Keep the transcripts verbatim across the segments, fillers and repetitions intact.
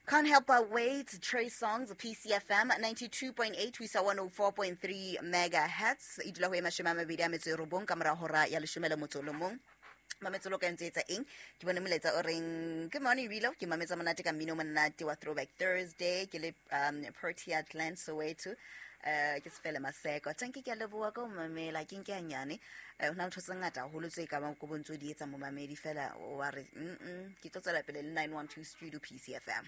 Can't Help But Wait, Trey Songz, P C F M, ninety-two point eight, we saw one oh four point three megahertz. E dula ho e mashome a mabedi a metso e robong ka mora hora ya leshome le motso o le mong. Mametso lo ka ntse etsa eng? Ke bone molaetsa o reng, good morning Rilo, ke mametsa monate ka mmino monate wa Throwback Thursday, ke le um Protea Glen Soweto. Uh, ke Sefele Maseko. Tanki ke a leboha ka ho mamela, ke nke hanyane. Eh, ho na le ntho tse ngata haholo tse ka bang ko bontso di etsa momamedi fela wa re, mm-mm, ke tlo tswela pele le nine one two Studio P C F M.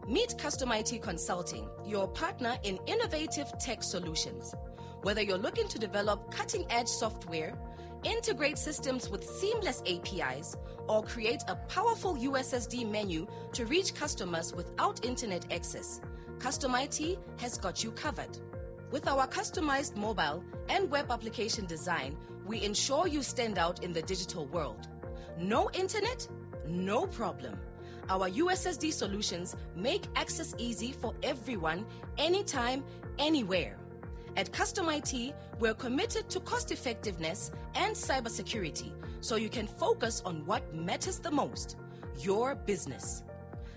Meet Custom I T Consulting, your partner in innovative tech solutions. Whether you're looking to develop cutting-edge software, integrate systems with seamless A P Is, or create a powerful U S S D menu to reach customers without internet access, Custom I T has got you covered. With our customized mobile and web application design, we ensure you stand out in the digital world. No internet? No problem. Our U S S D solutions make access easy for everyone, anytime, anywhere. At Custom I T, we're committed to cost effectiveness and cybersecurity, so you can focus on what matters the most, your business.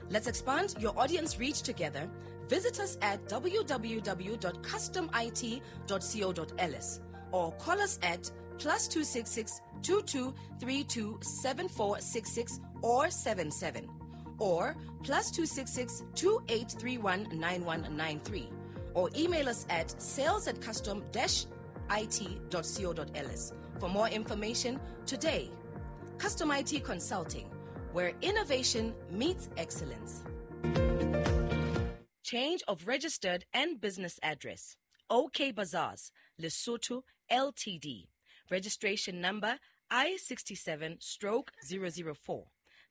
Let's expand your audience reach together. Visit us at w w w dot custom I T dot co dot l s or call us at plus two six six, two two three two seven four six six or seven seven or plus two six six, two eight three one nine one nine three. Or email us at sales at custom dash I T dot co dot l s for more information today. Custom I T Consulting, where innovation meets excellence. Change of registered and business address. O K Bazaars, Lesotho L T D. Registration number I sixty-seven stroke zero zero four.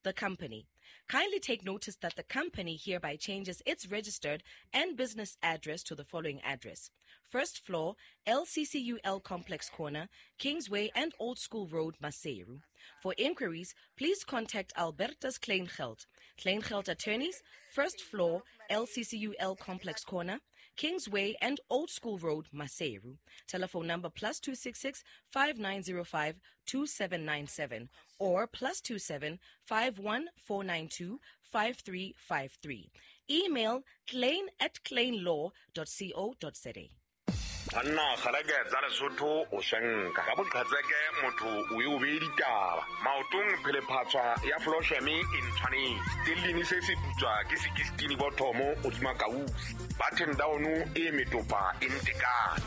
The company. Kindly take notice that the company hereby changes its registered and business address to the following address. First floor, L C C U L Complex Corner, Kingsway and Old School Road, Maseru. For inquiries, please contact Albertus Kleingeld. Kleingeld Attorneys, first floor, L C C U L Complex Corner, Kingsway and Old School Road, Maseru. Telephone number plus two six six, five nine zero five, two seven nine seven or plus two seven, five one four nine two, five three five three. Email klein at kleinlaw dot co dot za. Banna kgaleke tsa Lesotho o shenka ka boqhetseke motho o e o be ditaba maotong phelephatswa ya Flosheme e ntshwanetse stellini se se putswa ke sixteen bothomo o dima kausi button down e metopa e ntekane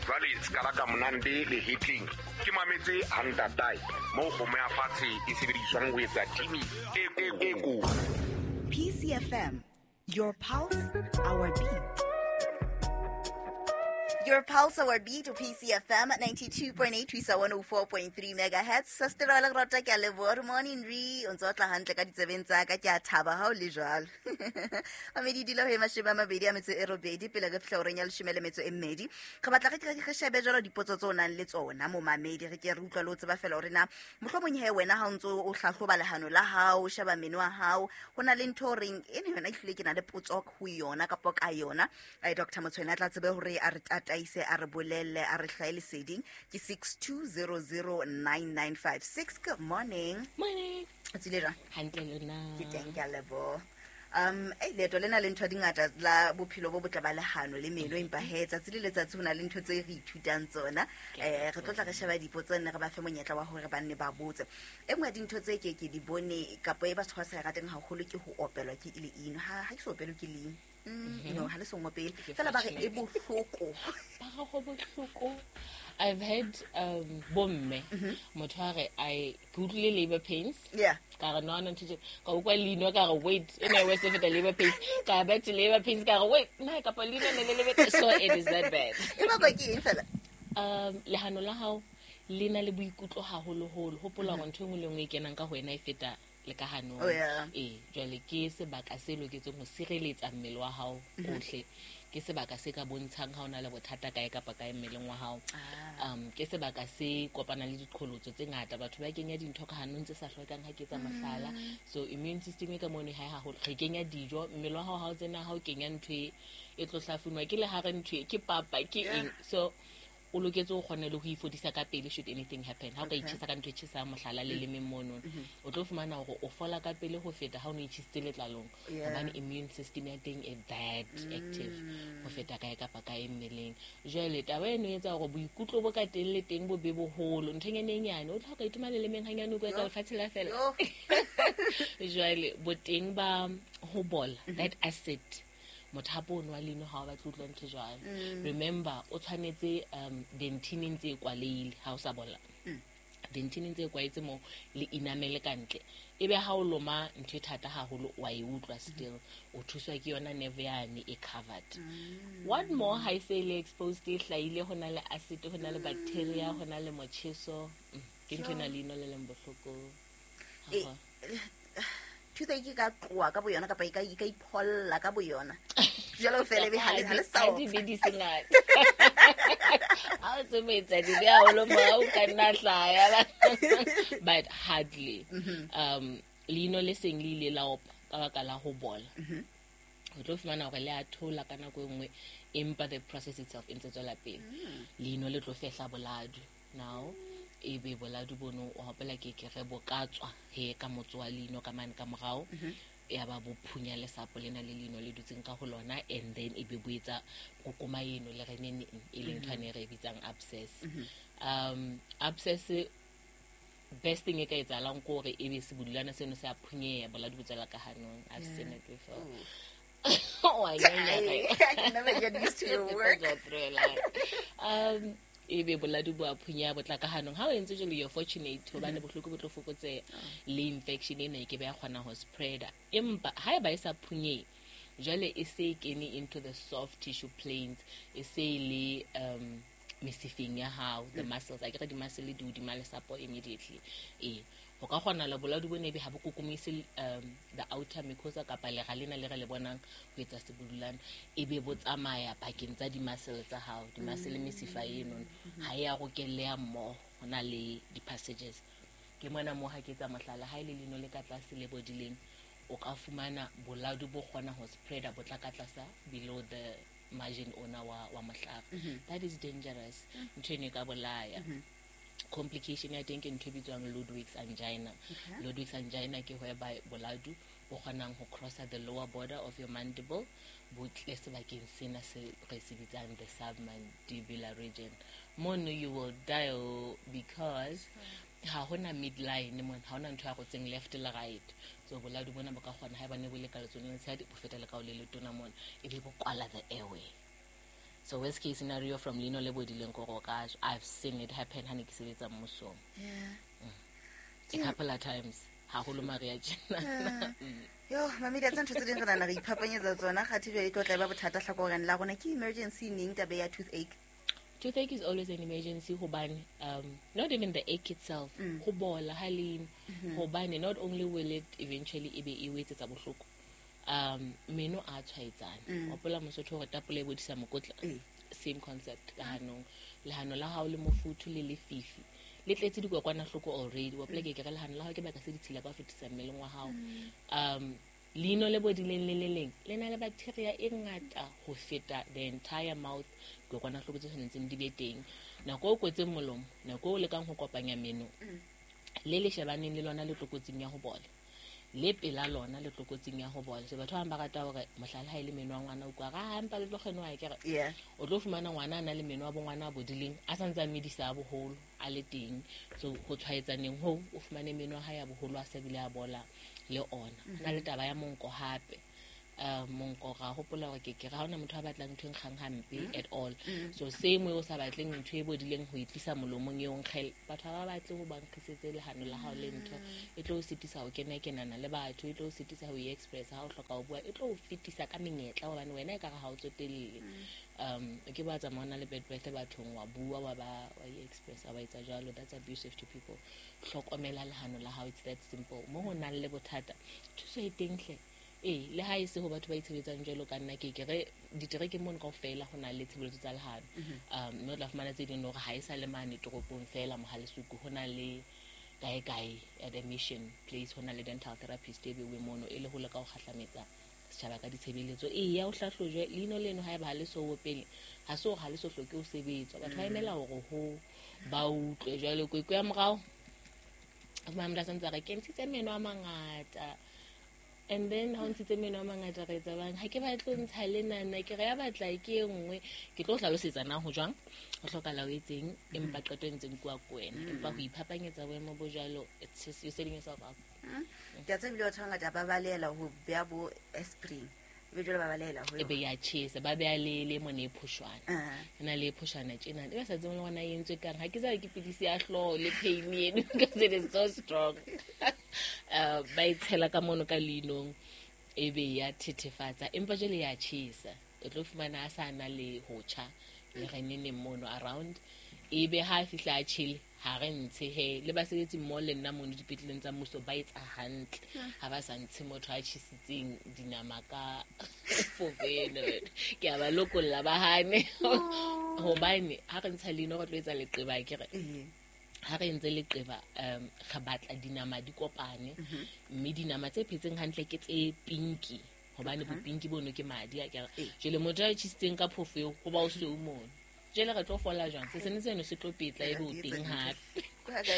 jwale skala ka monande le hitling ke mametse hantatai mo kgomo ya fatshe e sebediswang ho etsa timi e e ko. P C F M, your pulse, our beat. Your pulse, our beat, P C F M, ninety-two point eight, one oh four point three megahertz. Sastera la rota ke a leboha. Good morning, Ri. O ntse o tla hantle ka ditsebeng tsa ka, ke a thaba ha o le jwalo. Mamedi dilo he mashome a mabedi a metso e robedi pele re fihla horeng ya leshome le metso e mmedi. Re batla re ke re shebe jwalo dipotso tseo o nang le tsona mo mamedi, re ke re utlwa le ho tseba fela hore na mohlomong he wena ha o ntso o hlahloba lehano la hao, o sheba meno a hao, ho na le ntho o reng ene yona ehlile ke na le potso ho yona kapa ka yona. Eh, Doctor Motshwene a tla tsebe hore a re tataise, a re bolelle, a re hlahe leseding. Ke six two zero zero nine nine five six. Good morning. Morning. O tsile jwang? Hantle lona. Ke teng, ke a leboha. Um, eh, leeto lena le ntho di ngata la bophelo bo botle ba lehano le meno, empa he tsatsi le letsatsi ho na le ntho tse re ithutang tsona. Eh, re tlo tla re sheba dipotso nne re ba fe monyetla wa hore ba nne ba botse. E nngwe ya dintho tse ke ke di bone kapa e batho ba sa e rateng haholo ke ho opelwa ke leino. Ha, ha ke so opelwe ke leino. Mm, no, ha le songo pele. Ke Fela ba re fashion. e bohloko. Ba re ho bohloko. I've had, um, bomme, Mm-hmm. motho a re, I ke utlwile labor pains. Yeah. Ka re, no, no, ntho tje-, ka utlwa leino, ka re, wait, e ne e worse feta labor pains. Ka back to labor pains, ka re, wait, na, kapa leino ne le labor, so it is that bad. E bakwa ke eng fela? Um, lehano la hao le na le boikutlo haholoholo. Hopola hore ntho e nngwe le nngwe e kenang ka ho wena e feta le ka hanong. Oh, yeah. Ee, jwale ke sebaka se loketseng ho sireletsa mmele wa hao Mm-hmm. ohle. Ke sebaka se ka bontshang ha o na le bothata kae kapa kae mmeleng wa hao. Ah. Um, ke sebaka se kopanang le diqholotso tse ngata. Batho ba kenya dintho ka hanong tse sa hlwekang, ha ke etsa mohlala. Mm. So immune system e ka mono ha e haholo. Re kenya dijo, mmele wa hao ha o tsena, ha o kenya ntho e, e tlo hlafunwa ke lehare ntho e, ke papa, ke Yeah. eng. So O loketse o kgone le ho ifodisa ka pele should anything happen. Ha o ka itjhesa ka ntho e tjhesang mohlala le lemeng mono, o tlo fumana hore o fola ka pele ho feta ha o no itjhesitse letlalong. Yeah. Hobane immune system ya teng e that active ho feta kae kapa kae mmeleng. Jwale taba eno e etsa hore boikutlo bo ka teng le teng bo be boholo. Nthonyana e nyane o tla ka itoma lelemeng hanyane o ka Yo. lefatshe la fela. Yo. Jwale boteng ba ho bola, that acid, mothapo ono wa leino ha o batle ho utlwa ntho e jwalo. Remember, o tshwanetse um dentine e ntse e kwalehile ha o sa bola. Dentine e ntse e kwaetse moo le enamel ka ntle. Ebe ha o loma ntho e thata haholo wa e utlwa still. O thuswa ke yona nerve yane e covered. What more ha e se e le exposed, e hlahile, ho na le acid, ho na le bacteria, ho na le motjheso. Mm, ke ntho ena leino le leng bohloko. Eh, Haholo. Toothache e ka tloha ka boyona kapa e ka e ka ipholla ka boyona. Jwale o fele ebe ha le ha le sa Ha di be di se ngata. Ha o se moetsa dibe haholo mo o ka nna hlaya. But hardly. Um, leino le seng le ile la opa ka baka la ho bola. O tlo fumana hore le a thola ka nako e nngwe, empa the process itself e ntse tswela pele. Leino le tlo fehla boladu now. Ebe boladu bono o hopola ke ke re bo ka tswa he ka motso wa leino ka mane ka morao. Ya ba bo phunya lesapo lena le leino le dutseng ka ho lona, and then e be bo etsa kokoma eno le re neng e leng ntho ane re e bitsang abscess. Um, abscess best thing e ka etsahalang ke hore ebe sebudulana seno se a phunyeha, boladu bo tswela ka hanong. I've seen it before. Oh, I I, I can never get used to your work. Um, ebe boladu bo a phunyeha bo tla ka hanong. Ha o entse jwalo, you're fortunate hobane bohloko bo tlo fokotseha le infection ena e ke be ya kgona ho spreada. Empa haeba e sa phunyehe, jwale e se e kene into the soft tissue planes, e se e le um mesifeng ya hao, the muscles. Akere di-muscle di hodima lesapo immediately. Ee, ho ka kgona le boladu bo ne be ha bo kokomise um the outer mucosa kapa lera lena le re le bonang ho etsa sebudulana, ebe bo tsamaya pakeng tsa di-muscle tsa hao. Di-muscle mesifa eno ha e a rokelleha mmoho, ho na le di-passages. Ke mona moo ha ke etsa mohlala, ha e le leino le ka tlase le bodileng, o ka fumana boladu bo kgona ho spreada bo tla ka tlasa below the margin ona wa, wa mohlare. That is dangerous. Ntho eno e ka bolaya. Complication ya teng ke ntho e bitswang Ludwig's angina. Ludwig's angina ke whereby boladu bo kgonang ho crossa the lower border of your mandible, bo tle sebakeng sena se re se bitsang the submandibular region. Mono you will die because ha hona midline mona, ha hona ntho ya rotseng left le right. So boladu bona bo ka kgona haeba ne bo le ka letsohong le letshehadi, bo feta le ka ho le letona mona, ebe bo kwala the airway. So worst case scenario from leino le bodileng ko go ka, I've seen it happen ha ne ke sebetsa mmusong. Yeah. A couple of times, haholo Maria tjena. Yo, mamedi a tsa ntho tse ding re nahana re iphapanyetsa tsona, kgathe jwale e tlo tla e ba bothata hlakoreng la rona. Ke emergency neng taba ya toothache? Toothache is always an emergency hobane, um, not even the ache itself, ho bola ha leino, hobane not only will it eventually e be e o etsetsa bohloko, um, meno a tshwaetsana. Hopola Mosotho hore tapole e bodisa mokotla. Ee. Same concept ka hanong. Lehano la hao le mofuthu le lefifi le tletse dikokwanahloko already. Wa hopola ke ke re lehano la hao ke baka se ditshila ka ho fetisa mmeleng wa hao. Um, leino le bodileng le le leng le na le bacteria e ngata ho feta the entire mouth, dikokwanahloko tse tshwanetseng di be teng. Nako o kwetseng molomo, nako o lekang ho kopanya meno, le le shebaneng le lona le tlokotsing ya ho bola, le pela lona le tlokotsing ya ho bola. So batho ba bang ba rata hore mohlala ha e le meno a ngwana, o utlwa ha empa le tlo kgenoa ke re. Yeah. O tlo fumana ngwana a na le meno a bo ngwana a bodileng, a sa ntse a medisa a boholo a le teng. So ho tshwaetsaneng hoo, o fumane meno a hae a boholo a sa bile a bola le ona. Ho na le taba ya monko hape. Uh, monko ra hopola hore ke ke ra hona motho a batlang ntho e nkgang hampe at all. So same way o sa batleng ntho e bodileng ho e tlisa molomong eo nkgele, batho ha ba batle ho ba nkgisetse lehano la hao le ntho e tlo o sitisa ho kena kenana le batho, e tlo o sitisa ho e-express ha o hloka ho bua, e tlo o fetisa ka menyetla hobane wena ekare ha o tsotelle. Um, o ke ba tsamaya o na le bad breath bathong, wa bua, wa ba, wa e-express, wa etsa jwalo. That's abusive to people. Hlokomela lehano la hao, it's that simple. Mo ho nang le bothata, thuso e teng hle. Ee, le ha e se ho batho ba itshebetsang jwalo ka nna, ke ke re diterekeng mono kaofela ho na le tshebeletso tsa lehano. Um, mme o tla fumana tse ding hore ha e sa le mane toropong fela Mohalesuku, ho na le kae kae at a mission place, ho na le dental therapist e beuweng mono e le ho leka ho kgahlametsa setjhaba ka ditshebeletso. Eya o hlahlojwe leino leno haeba ha le so opele, ha se hore ha le so hloke ho sebetswa. Batho ba emela hore ho ba utlwe. Jwale kwekwe ya morao o fumana motho a santse a re ke ntshitse meno a mangata, and then ha o ntshitse meno a mangata re etsa bang, ha ke batle ho ntsha lenana, ke re ya batla ke e nngwe. Ke tlo hlalosetsa na ho jwang, ho hlokahala o etseng, empa qeto e ntseng kua ko wena. Empa ho iphapanyetsa boemo bo jwalo, it's just you're setting yourself up. Ke a tseba ebile batho ba bangata ba balehela ho beha bo aspirin, ebe jwale ba balehela ho E be ya tjhesa, ba beha le le mone e phoshwana. Ah. E na le e phoshwana tjena, e ba sa tsebeng le hore na e entswe kang. Ha ke tsebe ke pidisi ya hlooho le pain eno, because it is so strong. Uh, ba e tshela ka mono ka leinong, e be ya thethefatsa, empa jwale ya tjhesa. O tlo fumana a sa na le ho tjha le reneneng mono around, e be ha a fihla a tjhele, ha re ntshe he. Le basebetsi mmoho le nna mono dipetleleng tsa mmuso ba etsa hantle, ha ba sa ntshe motho a tjhesitseng dinama ka fofeno. Ke a ba lokolla ba hane, hobane ha re ntsha leino re tlo etsa leqeba, akere? Ee. Ha re entse leqeba, um re batla dinama di kopane, mme dinama tse phetseng hantle ke tse pinki, hobane bopinki bono ke madi, akere? Ee. Jwale motho a tjhesitseng ka phofo eo, ho ba o sweu mono. Jwale re tlo fola jwang? Se sene seno se tlo petla ebe o teng hape.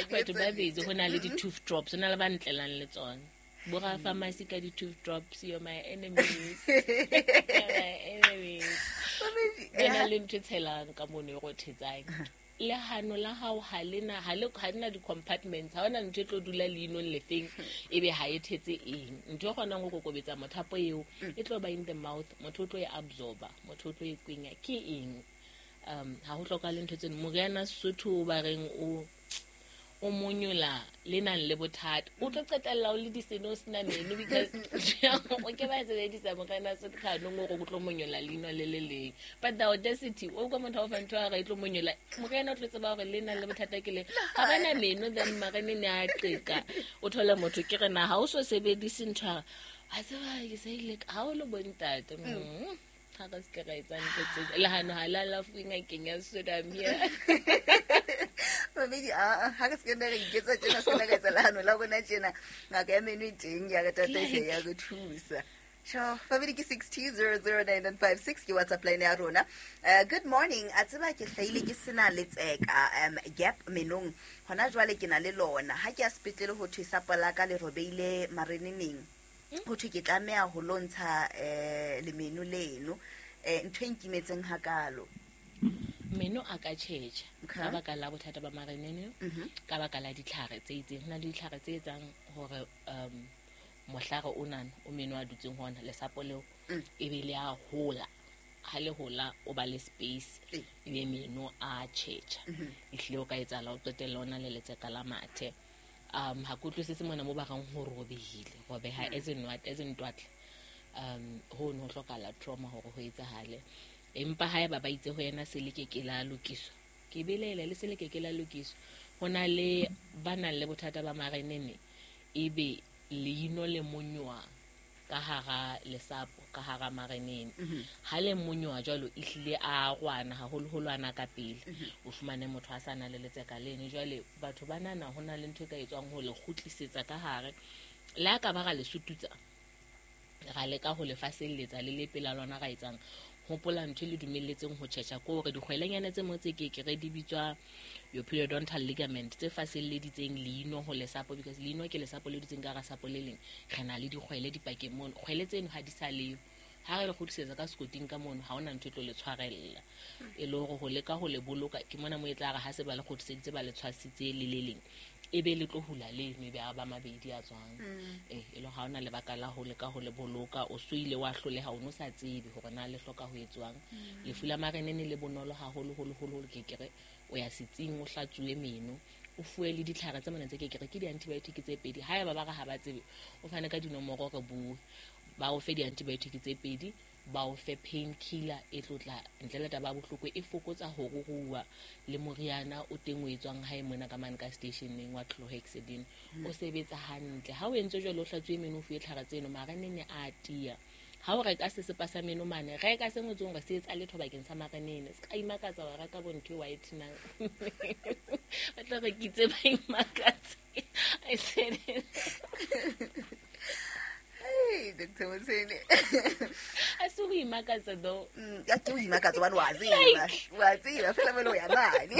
Batho ba busy, ho na le di-tooth drops, ho na le ba ntlelang le tsona. Bo ra-pharmacy ka di-tooth drops, you're my enemies. You're my enemies. Ho na le ntho e tshelang ka mono e rothetsang. Lehano la hao ha le na, ha le, ha le na di-compartments, ha hona ntho e tlo dula leinong lefeng, ebe ha e thetse eng. Ntho e kgonang ho kokobetsa mothapo eo, e tlo ba in the mouth, motho o tlo e absorba, motho o tlo e kwenya. Ke eng? Um, ha ho hlokahale ntho tseno. Moriana Sesotho o ba reng o, o monyola le nang le bothata, o tlo qetella o le diseno o sena meno, because o ke ba sebedisa moriana Sesotho kganong hore o tlo monyola leino le le leng. But the audacity, o utlwa motho a o fa ntho ya hore e tlo monyola moriana, o tlo tseba hore le nang le bothata ke le ha ba na meno, then marenene a qeka. O thole motho ke re na ha o so sebedise ntho ya hore, wa tseba ke sa ile ha o le bontate, mm, ha re se ke ra etsa ntho tse lehano ha la alafuwe ngakeng ya Sesotho, I'm here. Mamedi, ah, ah, ha re se ke nna ra iketsa tjena, se ke nna ka etsa lehano la rona tjena. Ngaka ya meno e teng, ya re tataisa, ya re thusa. Sure, family ke six two zero zero nine nine five six ke WhatsApp line ya rona. Uh, good morning. A tseba ke hlahile ke sena letseka, um, gap menong. Hona jwale ke na le lona. Ha ke ya sepetlele ho thwe sapo la ka le robeile mareneneng. Ho thwe ke tlameha ho lo ntsha, eh, lemeno leno. Eh, ntho e nkimetseng hakalo. Meno a ka tjhetjha Okay. ka baka la bothata ba marenene, Mhm. ka baka la ditlhare tse itseng. Ho na le ditlhare tse etsang hore, um, mohlare o nana o meno a dutseng ho ona, lesapo leo, Mm. e be le a hola. Ha le hola o ba le space, Ee. ebe meno a tjhetjha. Mhm. Ehlile o ka etsahala o qetella o na le letseka la mathe. Um, ha ke utlwisise mona mo ba reng ho robehile. Robeha as in what, as in twatla. Um, ho no hlokahala trauma hore ho etsahale. Empa haeba ba itse ho yena se le ke ke la lokiswa, ke belaela le se le ke ke la lokiswa. Ho na le ba nang le bothata ba marenene, ebe leino le monyoa ka hara lesapo, ka hara marenene. Mhm. Ha le monyoa jwalo, ehlile a rwana haholoholo ana ka pele. Mhm. O fumane motho a sa na le letseka leno. Jwale batho ba nana ho na le ntho e ka etswang ho le kgutlisetsa ka hare. Le ha ka ba ra le sututsa, ra leka ho le faselletsa le le pela lona ra etsang. Hopola ntho e le dumelletseng ho tjhetjha ke hore dikgwelenyana tse mo tse ke ke re di bitswa your periodontal ligament, tse faselleditseng leino ho lesapo, because leino ke lesapo le dutseng ka hara sapo le leng. Re na le dikgwele dipakeng mono, kgwele tseno ha di sa leyo. Ha re le kgutlisetsa ka sekoting ka mono, ha hona ntho e tlo le tshwarella. E le hore ho leka ho le boloka, ke mona mo e tla re ha se ba le kgutliseditse ba le tshwasitse le le leng, e be le tlo hula leno, e be a ba mabedi a tswang. Mm. Eh, e le ha hona lebaka la ho leka ho le boloka, o so ile wa hloleha, o no sa tsebe hore na le hloka ho etswang. Mm. Lefu la marenene le bonolo haholo, holo, holo, holo, ke kere o ya setsing, o hlatsuwe meno, o fuwe le ditlhare tse mona tse ke kere ke di-antibiotic tse pedi. Haeba ba re ha ba tsebe, o fane ka dinomoro re bue, ba o fe di-antibiotic tse pedi, ba o fe painkiller e tlo tla ntle le taba ya bohloko, e fokotsa ho ruruha, le moriana o teng o etswang hae mona ka mane ka stationeng wa chlorhexidine, Mm. o sebetsa hantle. Ha o entse jwalo, o hlatsuwe meno, o fuwe tlhare tseno, marenene a tiya. Ha o reka sesepa sa meno mane, reka se ngotsweng hore se etsa letho bakeng sa marenene. Se ka imakatsa wa reka bo ntho e whitening. Ba tla re ke itse ba imakatse. I said it. Hey, Doctor Motshene. A se ho imakatsa though. Mm, ya ke o imakatsa hobane wa tseba. Wa tseba fela mole o ya mane.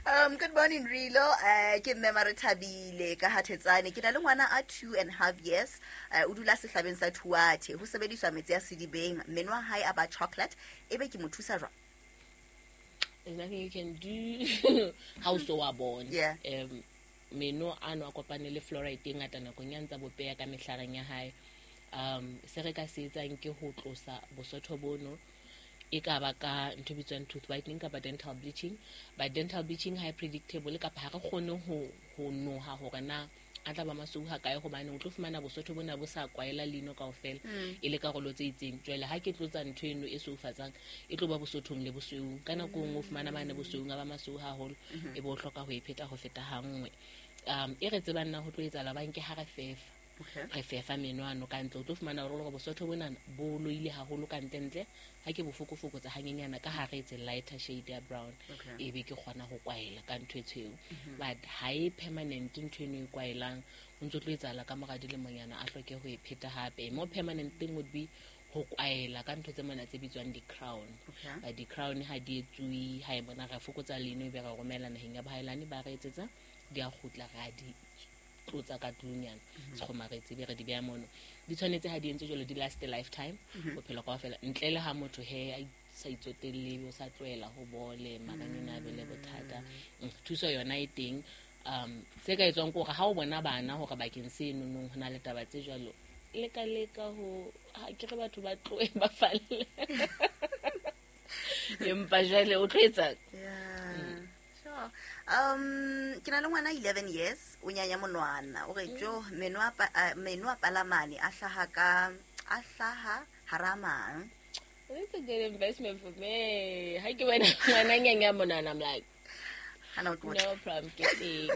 Um good morning Rilo. Eh ke mme Marethabile ka Hathetsane. Ke na le ngwana a two and a half years. Eh o dula sehlabeng sa Thuathe. Ho sebediswa metsi a sedibeng. Meno a hae a ba chocolate. Ebe ke mo thusa jwang? There's nothing you can do. Ha o so wa bona. Yeah. Um meno ano a kopane le fluoride e ngata nakong ya ntsa bopeya ka mehlareng ya hae. Um se re ka se etsang ke ho tlosa bosotho bono, e ka ba ka ntho e bitswang tooth whitening kapa dental bleaching. But dental bleaching ha e predictable, kapa ha re kgone ho ho noha hore na a tla ba masweu ha kae, hobane o tlo fumana bosotho bona bo sa kwaela leino kaofela, e le karolo tse itseng. Jwale ha ke tlotsa ntho eno e sweufatsang, e tlo ba bosothong le bosweung. Ka nako e nngwe o fumana mane bosweung a ba masweu haholo, e bo o hloka ho e pheta ho feta ha nngwe. Um e re tsebang nna ho tlo etsahala bang ke ha re fefa. Okay. Re fefa meno ano ka ntle, o tlo fumana hore hore bosotho bona bo loile haholo ka ntle ntle. Ha ke bo fokofokotsa hanyenyana ka hare etse lighter shade ya brown, Okay. e be ke kgona ho kwaela ka ntho e tshweu. But ha e permanent ntho eno e kwaelang, ho ntso tlo etsahala ka mora dilemonyana a hloke ho e pheta hape. More permanent thing would be ho kwaela ka ntho tse mona tse bitswang di-crown. Okay. But di-crown ha di etsuwe, ha e bona re fokotsa leino e be re romela naheng ya bohaelane, ba re etsetsa, di a kgutla, ra di tlotsa ka tlunyana, sekgomaretsi be re di beha mono. Di tshwanetse ha di entse jwalo di last a lifetime, bophelo kaofela, ntle le ha motho he a sa itsotelle, o sa tlohela ho bole maranyane a be le bothata. Mm, thuso yona e teng. Um se ka etswang ke hore ha o bona bana hore bakeng se nonong ho na le taba tse jwalo, leka leka ho ha ke re batho ba tlohe ba falle. Empa jwale o tlo etsa. Yeah. Sure. Um ke na le ngwana eleven years, o nyanya monwana. O re jo meno a pa- a- meno a palamane a hlaha ka a hlaha hara mang. That's a good investment for me. Ha ke bona ngwana nyanya monwana, I'm like, Hana o tlotla. no problem, ke teng.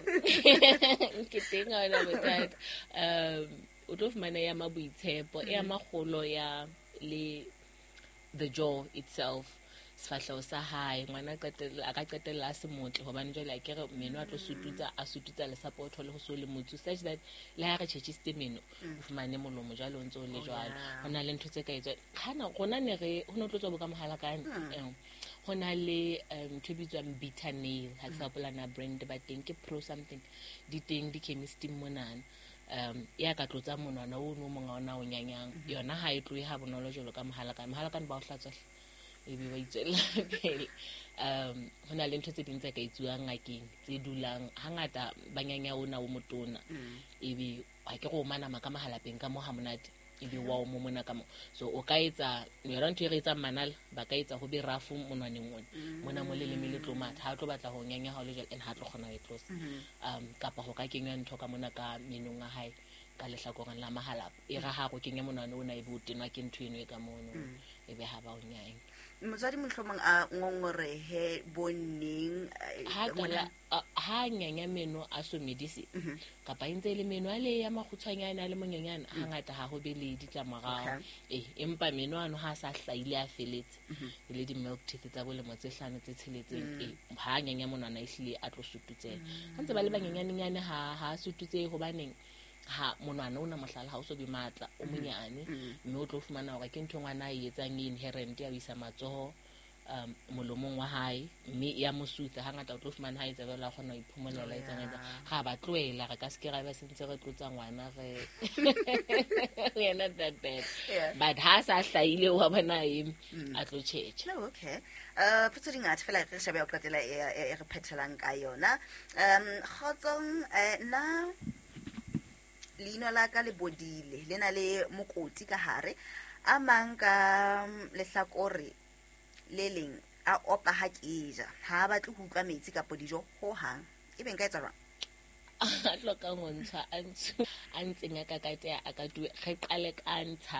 Ke teng, ha hona bothata. Um o tlo fumana ya ma boitshepo, e ama kgolo ya le the jaw itself, sefahleho sa hae. Ngwana a qetella, a ka qetella a se motle, hobane jwale a ke re meno a tlo sututsa, a sututsa lesapo, o thole ho so le motsu, such that le ha re tjhetjhisitse meno, o fumane molomo jwale o ntso o le jwalo. yeah. Ho na le ntho tse ka etswang. Hana rona ne re ho no tlo tswa bo ka mohalakane. Eh, ho na le um, ntho e bitswang bitter nail, ha ke sa hopola na brand ba teng ke pro something, di teng di-chemisting monana. Um ya ka tlotsa monwana o no mong ona o nyanyang, yona ha e tlohe ha bonolo jwalo ka mohalakane. Mohalakane ba o hlatswa hle, ebe ba itswella pele. Um ho na le ntho tse ding tse ka etsuwang ngakeng tse dulang hangata ba nyanya ona o motona, ebe ha ke re o manama ka mahalapeng ka mo ha monate, ebe wa o momona ka mo. So o ka etsa yona ntho e re etsang manala, ba ka etsa ho be rafu monwaneng ona mona mo leleme le tlo matha, ha o tlo batla ho nyanya ha o le jwalo, and ha tlo kgona ho e tlosa. Um kapa ho ka kenywa ntho ka mona ka menong a hae ka lehlakoreng la mahalapa, e re ha go kenya monwana ona ebe o tenwa ke ntho eno e ka mono, ebe ha ba o nyanya. Motswadi mohlomong a ngongorehe bonneng, eh, Ha ngwana- qala a- ha nyanya meno a so medise, kapa e ntse e le meno a le ya makgutshwanyane a le monyenyane, hangata ha ho be le ditlamorao. Okay. Eh, empa meno ano ha a sa hlahile a feletse, e le di-milk teeth tsa bolemo tse hlano tse tsheletseng, eh, ha nyanya monwana e hlile a tlo sututseha. Ha ntse ba le banyenyanenyane ha ha sututsehe, hobaneng ha monwana ona mohlala ha o so be matla, o monyane, mme o tlo fumana hore ke ntho ngwana a e etsang e inherent ya ho isa matsoho um molomong wa hae, mme ya mo sutha. Hangata o tlo fumana ha etsa jwalo a kgona ho iphomolela, etsang etsang ga ba tlohela, re ka se ke ra ba sentse re tlotsa ngwana re we are not that bad. Yeah. But ha sa hlahile wa bona eme a tlo tjhetjha. No, okay. Uh, potso di ngata fela re shebe ya ho qetela e e- e re phethelang ka yona. Um kgotsong, eh, nna leino la ka le bodile, le na le mokoti ka hare, a mang ka mm, lehlakore le leng a opa ha ke ja, ha a batle ho utlwa metsi kapa dijo hohang. Ebe nka etsa jwang? A hlokang ho ntshwa a ntshu a ntseng a kakateha a ka tuwe, re qale ka ntsha.